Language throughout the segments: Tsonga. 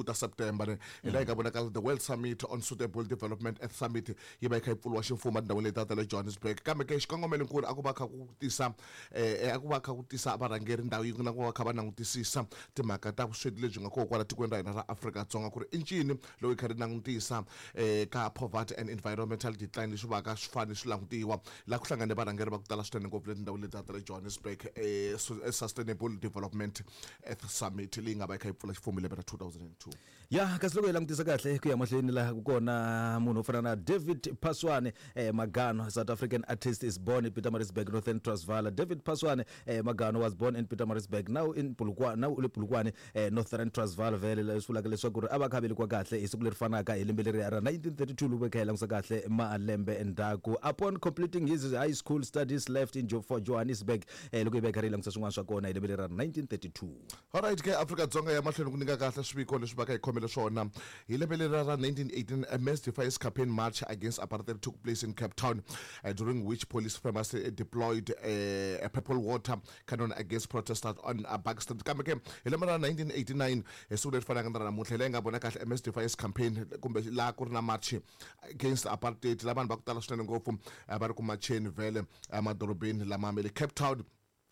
Ta September ne hi laha hi nga vonaka the World Summit on Suitable Development Earth Summit yi va yi kha yi pfuriwa ximfumo etindhawini leti ta le Johannesburg. Kambe ke xikongomelonkulu a ku va kha ku tisa a ku va kha ku tisa varhangeri ndhawu yin'we na ku va kha va langutisisa timhaka ta vusweti lebyi nga kona kwala tikweni ra hina ra Afrika-Dzonga, ku ri i ncini loko hi kha ri langutisa ka poverty and environmental decline leswi va ka swi fanele swi langutiwa. Laha ku hlangane varhangeri va ku tala swinene ngopfu le tindhawini leti ta le Johannesburg, Sustainable Development Earth Summit leyi nga va yi kha yi pfula ximfumo hi lembe ra 2002. Ya, kasi loko hi langutisa kahle ku ya mahlweni laha ku kona munhu wo fana na David Phaswane Magano, South African artist, is born in Pietermaritzburg, Northern Transvaal. David Phaswane Magano was born in Pietermaritzburg, now in Polokwane, now u le Polokwane, Northern Transvaal. Vhele leswi vulaka leswaku ri a va kha velekiwa kahle hi siku leri fanaka hi lembe leri ra 1932 loko hi kha hi langutisa kahle malembe endzhaku. Upon completing his high school studies, left in for Johannesburg, loko hi va hi karhi hi langutisa swin'wana swa kona hi lembe leri ra 1932. Alright ke, Afrika-Dzonga ya mahlweni ku nyika kahle swiviko leswi va ka hi khomele swona. Hi lembe leri ra 1918, a mass defiance campaign march against apartheid took place in Cape Town, during which police famously deployed a purple water cannon against protesters on Back Street. Kambe ke hi lembe ra 1989, hi siku leri fanaka na ra namuntlha, hi laha hi nga vona kahle a mass defiance campaign kumbe laha ku ri na march against apartheid, laha vanhu va ku tala swinene ngopfu va ri ku macheni vhele emadorobeni lama ma le Cape Town.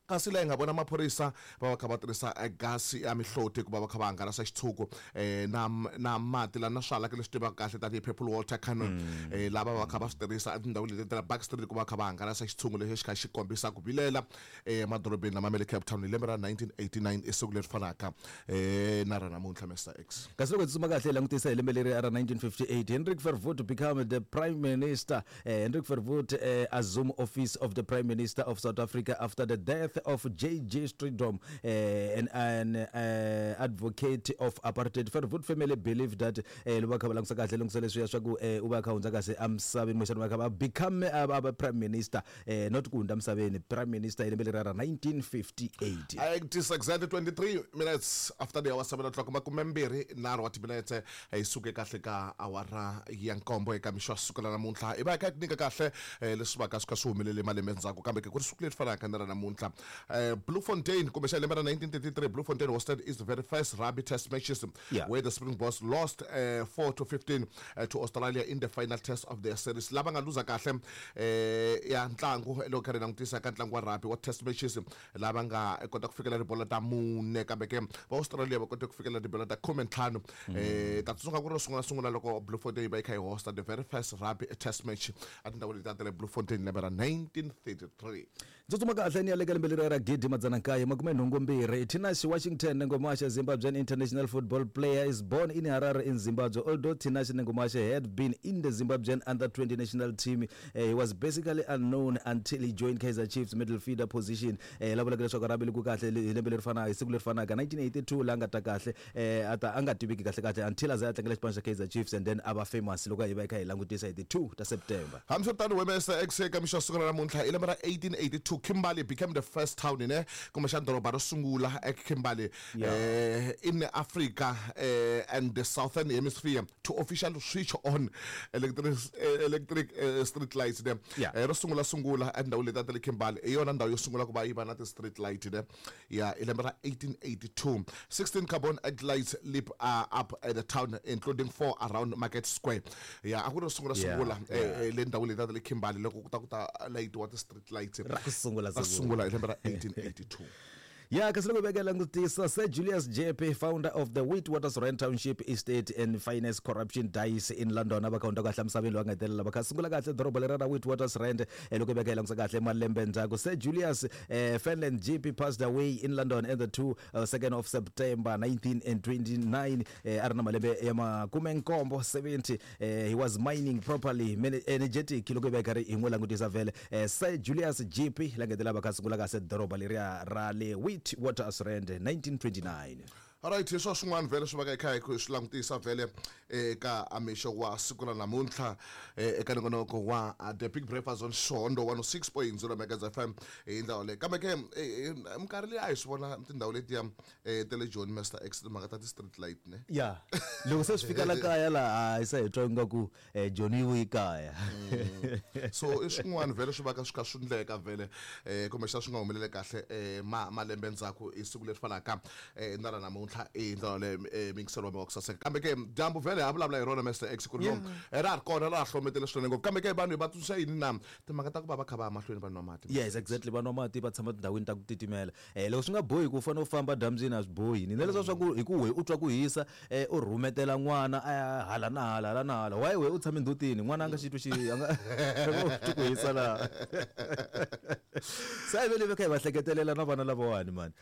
Kasi laha hi nga vona maphorisa va va kha va tirhisa gasi ya mihloti ku va va kha va hangalasa xitshuku na mati la na swihalaki leswi tivaka kahle tanihi purple water cannon, lava va kha va swi tirhisa etindhawini leti ta Back Street ku va kha va hangalasa xitshungu lexi xi kha xi kombisa ku vilela emadorobeni lama ma le Cape Town hi lembe ra 1989, i siku leri fanaka na ra namuntlha, Mister X. Kasi loko hi tsutsuma kahle hi langutisa hi lembe leri ra 1958, Hendrik Verwoerd become the prime minister. Hendrik Verwoerd assume office of the prime minister of South Africa after the death of JJ Strijdom, an advocate of apartheid. Verwoerd family believed that loko va kha va langutisa kahle langutisa leswiya swa ku u va kha hundza kahle emisaveni, kumbexana va kha va become a prime minister, not ku hundza misaveni, prime minister hi lembe leriya ra 1958. It is exactly 23 minutes after the hour 7 o'clock, 23 wa timinetse hi suke kahle ka awara ya nkombo eka mixo wa siku ra namuntlha. Hi va hi kha hi ku nyika kahle leswi va ka swi kha swi humelele malembe ndzhaku, kambe ke ku ri siku leri fanaka ni ra namuntlha. Bloemfontein, kumbexana lembe ra 1933, Bloemfontein hosted its very first rugby test matches, where the Springboks lost 4-15 to Australia in the final test of their series. Lava nga luza kahle ya ntlangu loko kha ri langutisa ka ntlangu wa rugby wa test matches, lava nga kota ku fikela tibola ta mune, kambe ke va Australia va kote ku fikela tibola ta 15. Ta tsundzuka ku ri ro sungula sungula loko Bloemfontein yi va yi kha yi hosta the very first rugby test match etindhawini letiya ta le Bloemfontein lembe ra 1933. Tsutsuma kahle ni ya le ka lembe leriya ra 1982. Tinashe Washington Nengomasha, Zimbabwean international football player, is born in Harare in Zimbabwe. Although Tinashe Nengomasha had been in the Zimbabwean under-20 national team, he was basically unknown until he joined Kaizer Chiefs midfielder position. La vulaka leswaku ra velekiwe kahle hi lembe leri fanaka, hi siku leri fanaka 1982, la nga ta kahle a ta a nga tiveki kahle kahle until a za a tlangela xipano xa Kaizer Chiefs and then a va famous loko hi va hi kha hi langutisa hi ti 2 ta September. Hambiswiritano, Webster ekuseni ka mixo wa siku ra namuntlha hi lembe ra 1882, Kimberley became the first town ne kumbexana doroba ro sungula eKimberley in Africa and the Southern Hemisphere to officially switch on electric, electric street lights ne. Ro sungula sungula etindhawini letiya ta le Kimberley, hi yona ndhawu yo sungula ku va yi va na ti-street light ne. Ya, hi lembe ra 1882, 16 carbon act lights lit up at the town, including four around Market Square. Ya, a ku ri ro sungula sungula le ndhawini letiya ta le Kimberley loko ku ta ku ta layitiwa ti-street lights. Ra ku sungula Ra sungula hi lembe ra 1882. Ya, kasi loko hi veka langutisa, Sir Julius Jeppe, founder of the Witwatersrand Township Estate and Finance Corruption Dice in London, a va kha hundza kahle emisaveni loyi a nga hetelela va kha sungula kahle doroba leri ra Witwatersrand. Loko hi veka hi langutisa kahle malembe ndzhaku, Sir Julius Fenland Jeppe passed away in London at the 2 2nd of September 1929, a ri na malembe ya makumenkombo, 70. He was mining properly energetic loko hi va hi karhi hi n'wi langutisa vhele. Sir Julius Jeppe la nga hetelela va kha sungula kahle doroba leriya ra le Witwatersrand 1929. Alright, hi swa swin'wana vhele swi va ka hi kha hi swi langutisa vhele eka mixo wa siku ra namuntlha eka nongonoko wa The Big Breakfast on Xondo 106.0 Megahertz FM hi ndlela leyi. Kambe ke minkarhi leyi a hi swi vona tindhawu letiya ta le Joni, Master X, timhaka ta ti-street light ne. Ya, loko se swi fika la kaya laha hi se hi twa ingaku Joni yi vuyi kaya. So i swin'wana vhele swi va ka swi kha swi ndleka vhele, kumbexana swi nga humeleli kahle malembe ndzhaku hi siku leri fanaka na ra namuntlha. namuntlha i ndlela yaleyo mingiselo wa mi wa ku saseka. Kambe ke dyambu vhele ha vulavula hi rona Mr X ku ri no ra ha ri kona ra ha hlometele swinene ngopfu. Kambe ke vanhu hi va tsundzuxa yini na timhaka ta ku va va kha va ya mahlweni va nwa mati? Yes, exactly, va nwa mati, va tshama tindhawini ta ku titimela. Loko swi nga bohi ku u fanele u famba dyambyini a swi bohi. Ni na leswiya swa ku hi ku wehe u twa ku hisa u rhumetela n'wana a ya hala na hala hala na hala, why wehe u tshame ndzhutini n'wana a nga xi twi xi a nga twi ku hisa laha. Se a hi vele hi va kha hi va hleketelela na vana lavawani mani.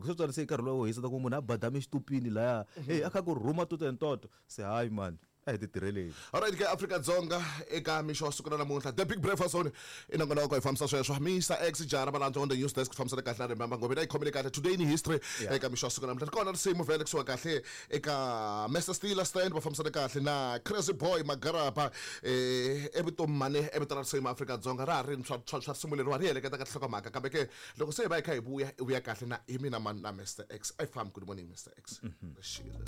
Ku swi se nkarhi luwa wo hisa ta ku munhu a badame xitupini laya, hey a kha ku rhuma toto and toto, se hayi mani. A hi ti tirheleni. Alright ke Afrika-Dzonga eka mixo wa siku ra namuntlha The Big Breakfast Zone i nongonoko hi fambisa sweswo Mr X Jara Valandzwa on the news desk fambisana kahle na Remember Ngobeni a yi khomile kahle today in history eka mixo wa siku ra namuntlha ri kona risimu vhele kusuka kahle eka Mr Steeler Stand va fambisana kahle na Crazy Boy Magaraba evutomi mane evito ra risimu Afrika-Dzonga ra ha ri swa swa swa risimu leriwa ri heleketa ka tinhlokomhaka kambe ke loko se hi va hi kha hi vuya i vuya kahle na hi mina mani na Mr X a yi fambi. Good morning Mr X. Xile.